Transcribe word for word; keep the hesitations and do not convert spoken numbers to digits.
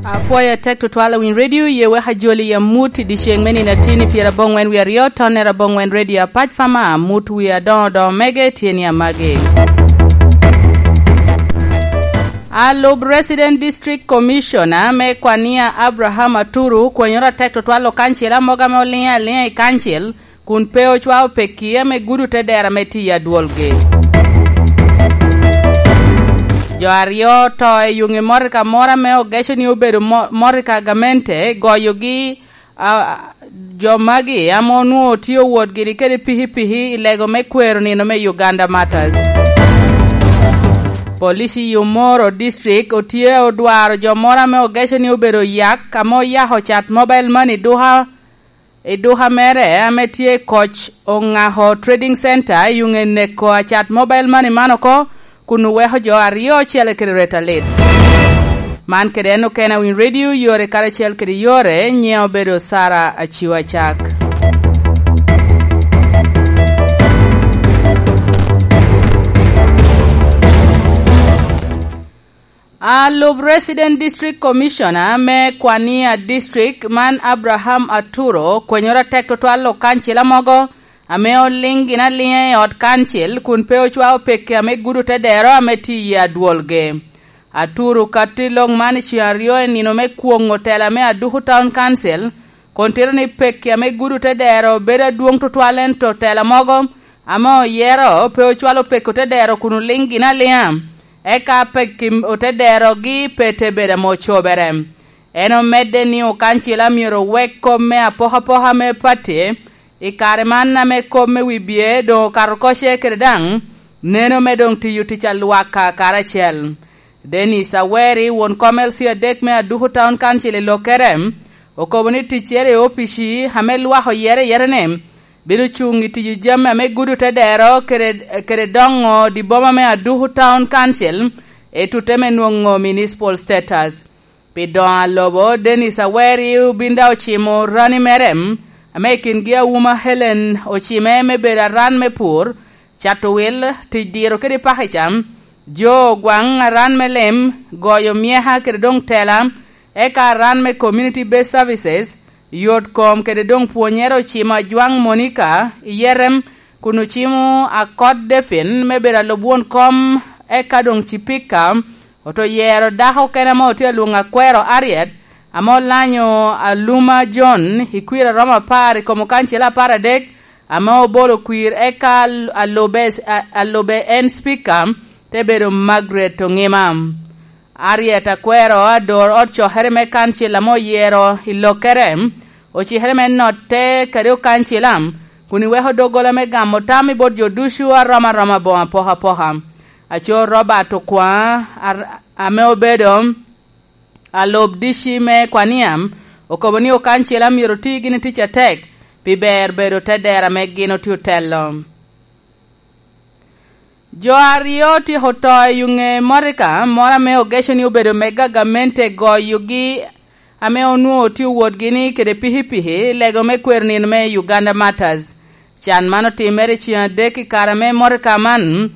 Apwoyo atek tutwal awiny redio, ye wek ajoli i amut i dyeceŋ me nino atin i pyeraboŋwen wie aryo, tonnere aboŋwen redio apac fama, amut wie adoŋo doŋo mege tye ni amagi. Alub Resident District Commissioner me Kwania Abraham Aturu kwenyoro atek tutwal okancil amoga ame oliŋe aliŋa i kancil, kun pe ocwao pekki ame gudo te dero ame tye i adwolgi. Jo aryo oto i yuŋ i motoka moro ame ogeco ni obedo mo-, motoka gamente, goyogi, a, jo magi ame onwoŋo tye owot gini kede pikipiki i lego me kwero nino me Uganda Martyrs. Police i Omoro District otye odwaro jo moro ame ogeco ni obedo yak ame oyako cat mobile money duka i duka mere ame tye i Koc Oŋako Trading Center i yuŋ eneko acat mobile money man oko, kun oweko jo aryo ocele kede reta lit. Man kede en okene awiny redio yore karacel kede yore, nyiŋe obedo Sara Aciwa Cak. Alub Resident District Commissioner me Kwania District man Abraham Aturo kwenyoro atek tutwal okancil amogo ame oliŋ gin aliŋa i ot kancil kun pe ocwao pekki ame gudo te dero ame tye i adwolgi. Aturo katti lok man i ceng aryo i nino me kwoŋo tela me Aduku Town Council, kun tito ni pekki ame gudo te dero bedo adwoŋ tutwal ento tela mogo ame oyero pe ocwalo pekki te dero kun oliŋ gin aliŋa. Eka pekki ote derogi pe te bedo ame ocobere. En omedde ni okancila myero owek kop me apokapoka me pati i kare man ame kop me wibie doŋ okato oko ce kede daŋ neno me doŋ tiyo tic alwaka karacel. Dennis Aweri, won kom L C adek me Aduku Town Council i Lokere, okobo ni ticcere i opici ame lwak oyere ayere ni bino cuŋ i tiyo jami ame gudo te dero kede, kede doŋo di boma me Aduku Town Council i tute me nwoŋo municipal status. Pi doŋo a lobo, Dennis Aweri obin daŋ ocimo rani mere, ame i kingi Awuma Helen ocime me bedo aran me pur, cato wil, tic diro kede paki cam, jo ogwaŋ aran me lim, goyo myeka kede doŋ tela, eka aran me community based services, yot kom kede doŋ pwonyere ocimo ajwaŋ Monica i Yerem, kun ocimo akot Defin me bedo alub won kom, eka doŋ cipika, oto yero dako kene ame otye alwoŋo akwero Ariet, ame olanyo Aluma John i kwir a romo apar i kom okancil apar adek, ame obolo kwir, eka al-, alube, a-, alube en spika te bedo Margaret Oŋima. Ariet akwero ador ot cokere me kancil ame oyero i lokere, ocikere me notte kede okancila, kun iweko doggola me gamo tam i bot jo ducu a rom aroma boŋo apokapoka. Aco Robert Okwaŋ, ar-, ame obedo alub D C me Kwaniam, okobo ni okancila myero oti gini tic atek pi ber bedo te dero ame gin otye otelo. Jo aryo otyeko to i ŋe motoka moro ame ogeco ni obedo me gagamente goyogi, ame onwoŋo tye wotgi ni kede pikipiki lego me kwero nino me Uganda Martyrs. Can man otimere i ceng adek i kare ame motoka man